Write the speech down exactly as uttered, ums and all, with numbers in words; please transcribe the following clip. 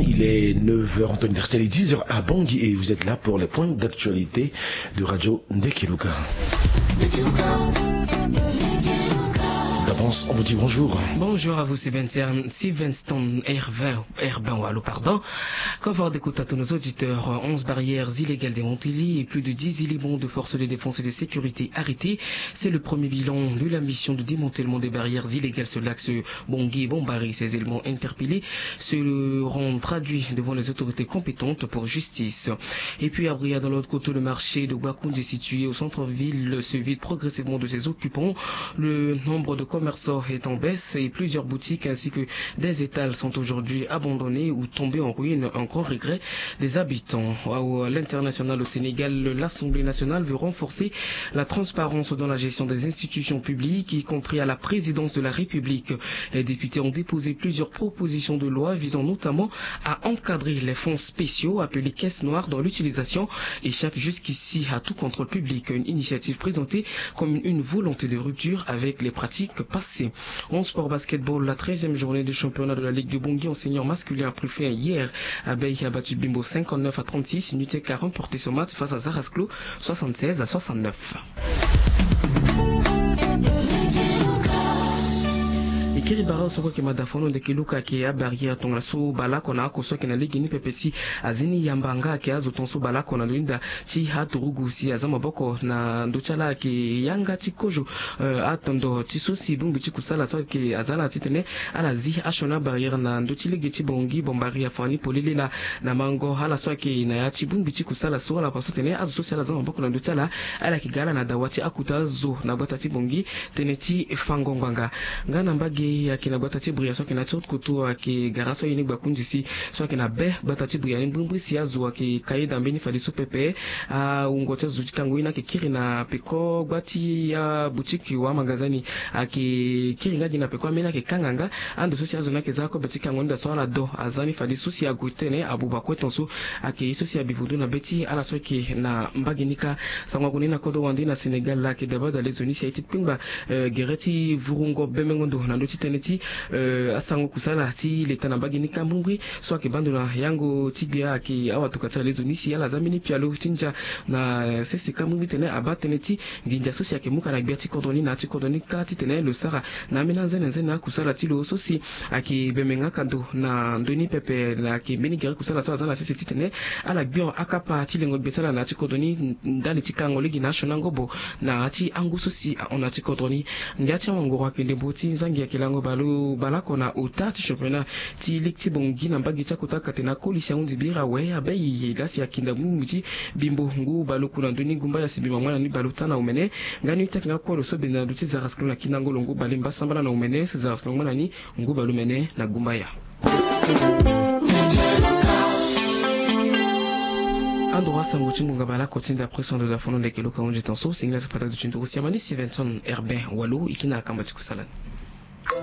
Il est neuf heures en temps universel et dix heures à Bangui et vous êtes là pour les points d'actualité de Radio Ndekeluka. D'avance, on vous dit bonjour. Bonjour à vous, Sylvain Stern, Sylvain Stone, Herbin, Herbin Walo, pardon. Kovo de kota to nos auditeurs, onze barrières illégales démantelées et plus de dix éléments de forces de défense et de sécurité arrêtés. C'est le premier bilan de la mission de démantèlement des barrières illégales sur l'axe Bangui-Bambari. Ces éléments interpellés seront traduits devant les autorités compétentes pour justice. Et puis à Bria, dans l'autre côté, le marché de Gbakoundji, situé au centre-ville, se vide progressivement de ses occupants. Le nombre de commerçants est en baisse et plusieurs boutiques ainsi que des étals sont aujourd'hui abandonnés ou tombés en ruine. Un grand regret des habitants. À l'international, au Sénégal, l'Assemblée nationale veut renforcer la transparence dans la gestion des institutions publiques, y compris à la présidence de la République. Les députés ont déposé plusieurs propositions de loi visant notamment à encadrer les fonds spéciaux appelés caisses noires, dont l'utilisation échappe jusqu'ici à tout contrôle public. Une initiative présentée comme une volonté de rupture avec les pratiques passées. En sport basketball, la treizième journée du championnat de la Ligue de Bangui en senior masculin a pris fin hier. Abei a battu Bimbo cinquante-neuf à trente-six. Nutec a remporté son match face à Zarasclo soixante-seize à soixante-neuf. E kiri bara so kue ayeke mada fono ndeke luka ayeke abarrière tongana so baleoko na oko so ayeke na lege ni pepe si azi ni yamba nga ayeke azo ton so baleoko na ndo ni daa ti aturugu si aza maboko na ndö ti ala ayeke yanga ti kozo. Atondo ti so si bongbi ti kusala so ayeke aza ala titene ala zi asioni abarrière na ndö ti lege ti Bangui Bambari afa ni polele laa. Na mango ala so ayeke na ya ti bongbi ti kusala so ala fa so atene azo so si ala za maboko na ndö ti ala, ala yeke ga ala na dawa ti akota azo na gbata ti Bangui. Tënë ti fango ngbanga nga na mbage ayeke na gbata ti Bria so ayeke na ti haute couture ayeke gara so aye ni Gbakoundji si so ayeke na be gbata ti Bria ni mbrimbri si azo ayeke ka ye daa mbeni fadeso pepe. Awungo ti azo ti kango ye ni ayeke kiri na peko gba ti aboutique wala magasin ni ayeke kiri nga gi na peko ambeni ayeke kanga nga. Ando so si azo ni ayeke za akobe ti kango ni daa so ala do aza ni fadeso si ague titene abuba kue ton so ayeke ye so si abi vundu na be ti ala so ayeke na mbage ni kâ. Sango ague ni na kodro wande na Sénégal laa ayeke daba daa lezo ni si aye ti kpengba gere ti vurungo bemengo ndo na ndö ti tënë ti asango kusala ti leta na mbage ni kâ mbrimbri. So ayeke baa ndo na yango ti gbia ayeke awatoka ti ala lezo ni si ala za mbeni pialo ti ndia na sese kâ mbrimbri titene abaa tënë ti nginza so si ayeke mu ka na gbia ti kodro ni na ya ti kodro ni kâ titene lo sara na ambeni anzene nzene akusala ti lo so si ayeke bembe nga ka ndo na ndö ni pepe. Ayeke mbeni gere kusala so aza na sese titene ala gbio akapa ti lengo gbe ti ala na ya ti kodro ni ndali ti kango lege na asioni angobo na ya ti angu so si ahon na ya ti kodro ni. Ngia ti awangoro ayeke ndembo ti nzangi ayeke lango baleoko na ota ti championnat ti ligue ti Bangui na mbage ti akota kate na koli si ahundi bira awe abei laa si akinda bongbi ti Bimbo ngu baleoku na ndö ni Gumbaya si Bimbo angba na ni baleota na omene. Nga ni ute ayeke nga kue lo so bende na ndö ti Zarasclo na kinangolo ngu bale mbasambala na omene si Zarasclo angba na ni ngu baleomene na Gumbaya. Andro asango ti ngonga baleoko ti nda après son de la fono ndeke luka hunzi ton so singila so fata duti nduru si amani si Vinson Herbin Walo e kiri na kamba ti kusala ni.